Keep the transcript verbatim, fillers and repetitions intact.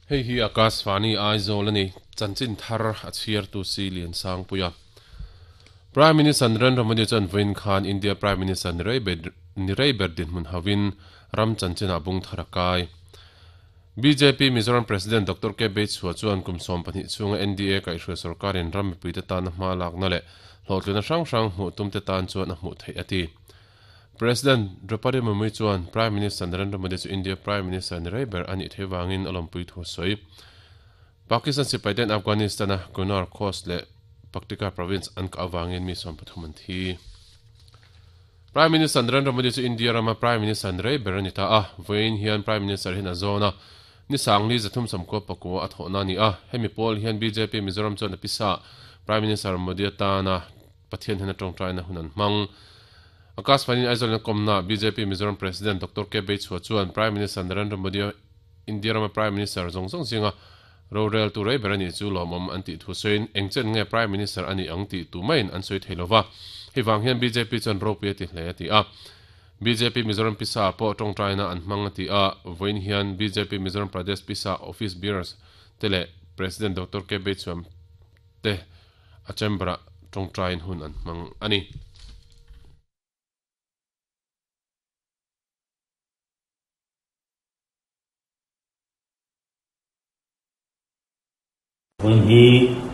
Hei hi Akashvani Aizawl ani chanchin thar a chhiar tu si lian sang puia Prime Minister Narendra Modi chuan vawiin khan India Prime Minister ni rei ber dinhmun hauhin ram chanchin ah bung thar a kai. B J P Mizoram President Doctor K Beichhua chuan kum sawm pahnih chhunga N D A kaihhruai sorkarin ram mipuite tana hma lakna leh hlawhtlina hrang hrang hmuh tumte tan chuan a hmuh theih a ti. President Draupadi Murmu chuan Prime Minister Narendra Modi chu India Prime Minister ni rei ber a nih theih vangin a lawmpui thu a sawi. Pakistan sipaiten Afghanistan-a Kunar Khost leh Paktika province an kah avangin mi sawm pathum an thi. Prime Minister Narendra Modi chu India rama Prime Minister ni rei ber a ni ta a, vawiin hian Prime Minister hian a zawn a, ni sangli zathum sawmkua pakua a thawhna a ni a. Hemi pawl hian B J P Mizoram chuan a pisa Prime Minister Modi atana Pathian hian a tawngtaina hun an hmang. Akashvani Aizawl in a kawmna B J P Mizoram President Doctor K Beichhua chuan Prime Minister Narendra Modi India rama Prime Minister zawng zawng zinga rorel tu rei ber a nih chu lawmawm an tih thu sawiin eng chen nge Prime Minister a nih ang tih tu maiin an sawi thei lova, hei vang hian B J P chuan ropui a ti hle a ti a. B J P Mizoram pisa pawh tawngtaina an hmang a ti a. Vawiin hian B J P Mizoram Pradesh pisa office bearers te leh President Doctor K Beichhuam te a chamber ah tawngtain hun an hmang a ni. Vawiin hi